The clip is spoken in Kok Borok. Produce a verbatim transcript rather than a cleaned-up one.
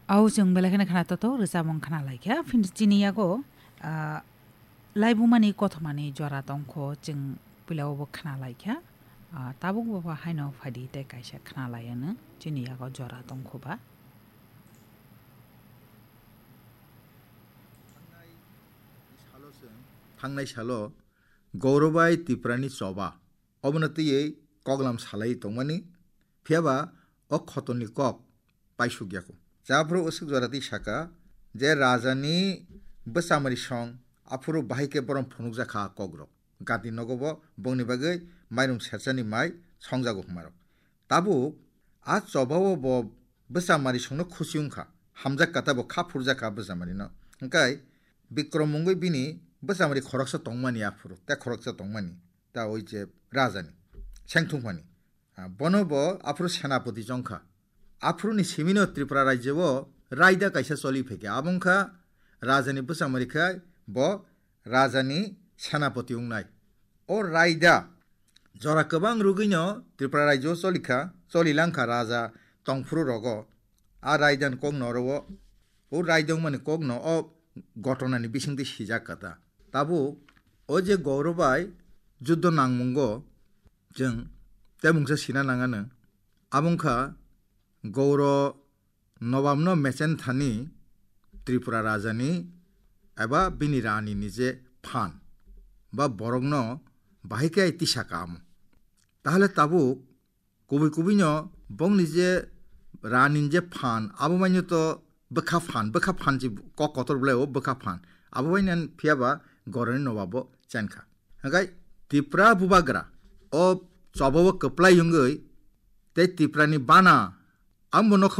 Au chwng belai kheno khna toto rwchapmung khna laikha. Phini chini yago, ah, laibumani kothomani jora tongkho chwng puila o bo khna laikha. Ah, tabuk bo ba haino phaidi tei kaisa khna laiano chini yago jora tongkho ba. Thangnai salo chwng, thangnai salo Gaurobai Tiprani choba. Obono twiwi koklam salai tongmani, phiyaba o khotorni kok paisuk yaku. Chaphuru usuk jora twi saka je rajani bwchamari song, aphuru bahai khe borom phunukjak kha kokrok. Gati nogo bo bongni bagwi mairum serchani mai songjago hwnmarok. Tabuk a chobao bo bwchamari songno khusi wngkha, hamjak kha tabo kha phurjak kha bwchamarino. Hwnkhe Bikrom mungwi bini bwchamari khoroksa tongmani aphuru, tei khoroksa tongmani. Ta oi je rajani sengthungmani. Ah, bono bo aphuru senapati chongkha. Aphuruni simino Tripura rajyo-o raida kaisa choli phaikha. Abo wngkha rajani bwchamari khai bo rajani senapati wngnai. O raida jora kwbang rwgwino Tripura rajyo-o cholikha, choli langkha raja tongphuru rogo. A raidani kokno oro o, o raida wngmani kokno o gotonani bisingtwi sijak kha ta. Tabuk o je Gaurobai juddo nangmungo chwng tei mungsa sina nangano. Abo wngkha Gauro Nobabno mechen thani Tripura rajani eba bini ranini je phan ba borokno bahai khe tisa kamo. Tahole tabuk kubui kubuino bongni je ranini je phan, abo maino to bwkha phan, bwkha phan je kok kotor belai o bwkha phan. Abo maino phiya ba Gauroni Nobabo chenkha. Hwnkhe Tipra bubagra o chobao kwplai wngwi tei Tiprani bana ambo nokha